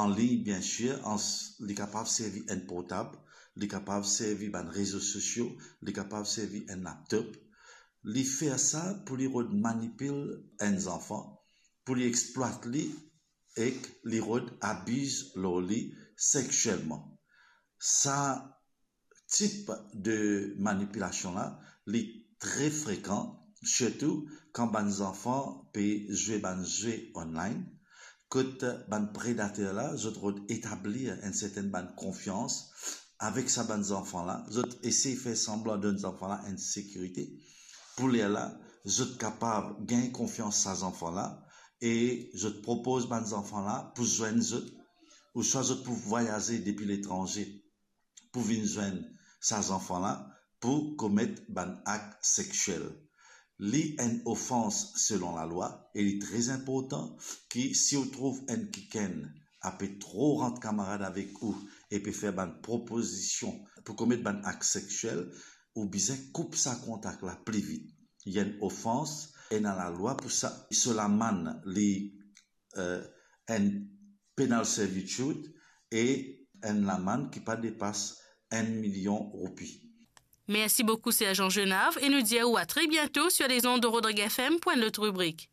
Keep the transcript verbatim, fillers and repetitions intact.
an lign, bien sir, an s-, li kapav servi enn portab, li kapav servi bann rezo sosio, li kapav servi enn laptop. Li fer sa pou li rod manipil enn zanfan, pou li explwat li ek li rod abiz lor li sexielman. Sa tip de manipilasion la, li tre frekan, sirtou kan bann zanfan pe zwe bann zwe online, kot bann predater la, zot rod etablir enn sertenn bann konfians avek sa bann zanfan la, zot esey fer sanblan donn zanfan la enn sekirite. Pou lerla, zot kapav gagn konfians sa zanfan la e zot propoz bann zanfan la pou zwenn zot, ouswa zot pou vwayaze depi letranze pou vinn zwenn sa zanfan la pou komet bann ak sexiel. Li enn ofans selon lalwa e li tre inportan ki si ou trouv enn kikenn ape tro rant kamarad avek ou e pe fer bann propozision pou komet bann ak sexiel, ou bizin koup sa kontak la pli vit. Li enn ofans, ena lalwa pou sa. So lamann li, eh, enn penal servitude e enn lamann ki pa depas enn milion roupi. Merci beaucoup, Sergent Genave, et nous dire à très bientôt sur les ondes de Rodrigue F M pour une autre rubrique.